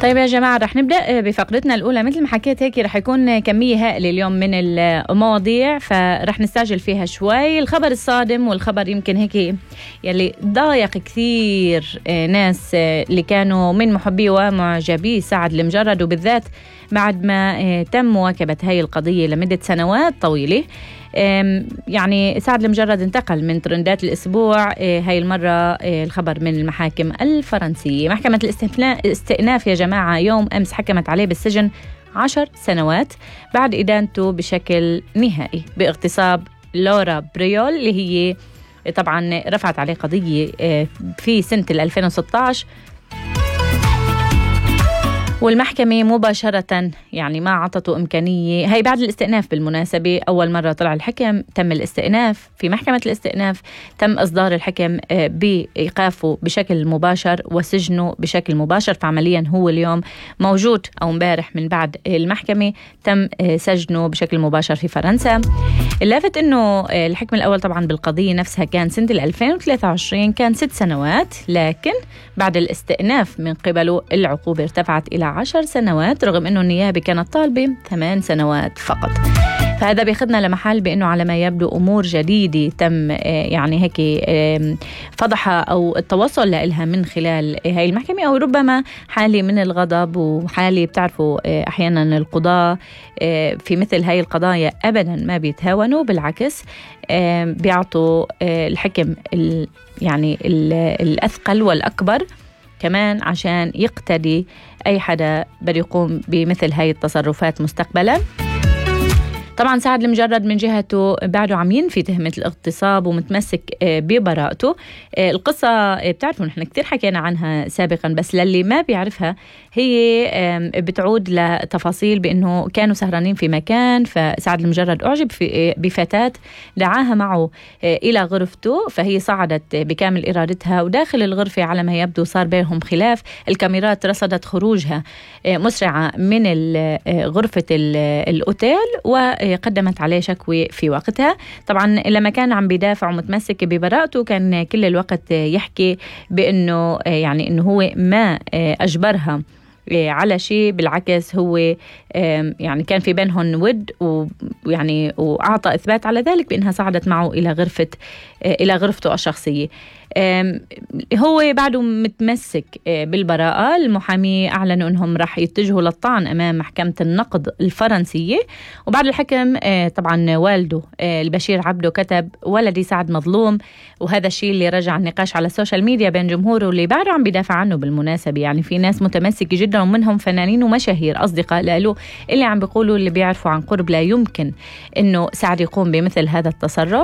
طيب يا جماعة رح نبدأ بفقرتنا الأولى. مثل ما حكيت هيك رح يكون كمية هائلة اليوم من المواضيع، فرح نستعجل فيها شوي. الخبر الصادم والخبر يمكن هيك يلي ضايق كثير ناس اللي كانوا من محبي ومعجبي سعد المجرد، وبالذات بعد ما تم مواكبة هاي القضية لمدة سنوات طويلة. يعني سعد المجرد انتقل من ترندات الأسبوع هاي المرة الخبر من المحاكم الفرنسية. محكمة الاستئناف يا جماعة يوم أمس حكمت عليه بالسجن 10 سنوات بعد إدانته بشكل نهائي باغتصاب لورا بريول، اللي هي طبعا رفعت عليه قضية في سنة 2016، والمحكمة مباشرة يعني ما عطته إمكانية. هاي بعد الاستئناف بالمناسبة، أول مرة طلع الحكم تم الاستئناف في محكمة الاستئناف، تم إصدار الحكم بإيقافه بشكل مباشر وسجنه بشكل مباشر. فعمليا هو اليوم موجود أو امبارح من بعد المحكمة تم سجنه بشكل مباشر في فرنسا. اللافت إنه الحكم الأول طبعا بالقضية نفسها كان سنة 2023، كان 6 سنوات، لكن بعد الاستئناف من قبله العقوبة ارتفعت إلى 10 سنوات، رغم أنه النيابة كانت طالبة 8 سنوات فقط. فهذا بيخدنا لمحل بأنه على ما يبدو أمور جديدة تم يعني هيك فضحها أو التوصل لها من خلال هاي المحكمة، أو ربما حالة من الغضب وحالة بتعرفوا أحيانا القضاء في مثل هاي القضايا أبدا ما بيتهاونوا، بالعكس بيعطوا الحكم يعني الأثقل والأكبر كمان عشان يقتدي أي حدا بده يقوم بمثل هاي التصرفات مستقبلا. طبعا سعد المجرد من جهته بعده عم ينفي تهمة الاغتصاب ومتمسك ببراءته. القصة بتعرفوا نحن كتير حكينا عنها سابقا، بس للي ما بيعرفها هي بتعود لتفاصيل بأنه كانوا سهرانين في مكان، فسعد المجرد أعجب بفتاة دعاها معه إلى غرفته، فهي صعدت بكامل إرادتها، وداخل الغرفة على ما يبدو صار بينهم خلاف. الكاميرات رصدت خروجها مسرعة من غرفة الأوتيل وقدمت عليه شكوى في وقتها. طبعا لما كان عم بيدافع ومتمسك ببراءته كان كل الوقت يحكي بأنه يعني أنه هو ما أجبرها على شيء، بالعكس هو يعني كان في بينهم ود، ويعني وأعطى إثبات على ذلك بأنها صعدت معه إلى غرفته الشخصية. هو بعده متمسك بالبراءة. المحامي أعلنوا أنهم رح يتجهوا للطعن أمام محكمة النقض الفرنسية. وبعد الحكم طبعا والده البشير عبده كتب: ولدي سعد مظلوم. وهذا الشيء اللي رجع النقاش على السوشيال ميديا بين جمهوره اللي بعده عم بيدافع عنه. بالمناسبة يعني في ناس متمسكة جدا ومنهم فنانين ومشاهير أصدقاء له اللي عم بيقولوا اللي بيعرفوا عن قرب لا يمكن أنه سعد يقوم بمثل هذا التصرف.